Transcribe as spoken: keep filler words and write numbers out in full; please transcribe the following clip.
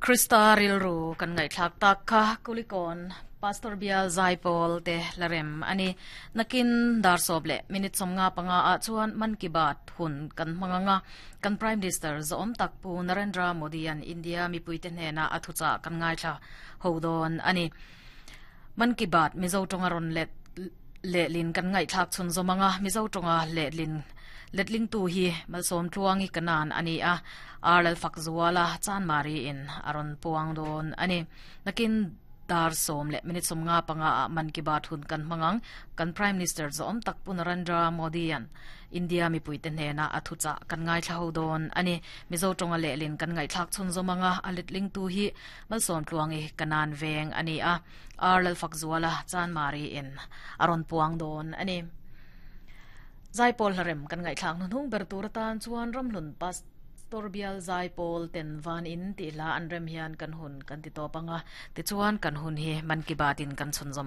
Krista rilru kan ngaihthlak tak kha Kulikawn Pastor Bial Zaipawl te hlarem ani. Nakin dar sawm leh minute sawmnga panga ah chuan Man Ki Baat hun kan hmang anga kan Prime Minister zawm tak Pu Narendra Modi an India mipuite hnena a thuchah kan ngaithla ho dawn ani. Man Ki Baat Mizo tawnga rawn let lehlin kan ngaihthlak chhun zawm anga Mizo tawnga lehlin letling tu hi Malsawm Tluangi kanan ani a Arlal Fakzuala Chanmari in a rawn puang dawn ani. Nakin dar sawm leh minute sawmnga panga ah Man Ki Baat hun kan hmang ang kan Prime Minister zawm tak Pu Narendra Modi an India mipuite hnena a thuchah kan ngaithla ho dawn ani. Mizo tawnga lehlin kan ngaihthlak chhun zawm anga a letling tu hi Malsawm Tluangi kanan veng ani a Arlal Fakzuala Chanmari in a rawn puang dawn ani. Zaipawl hlarem kan ngaihthlak hnuhnung ber tur atan chuan Ramhlun Pastor Bial Zaipawl ten van in tih hla an rem hian kan hun kan ti tawp anga tichuan kan hun hi Man Ki Baat in kan chhun zawm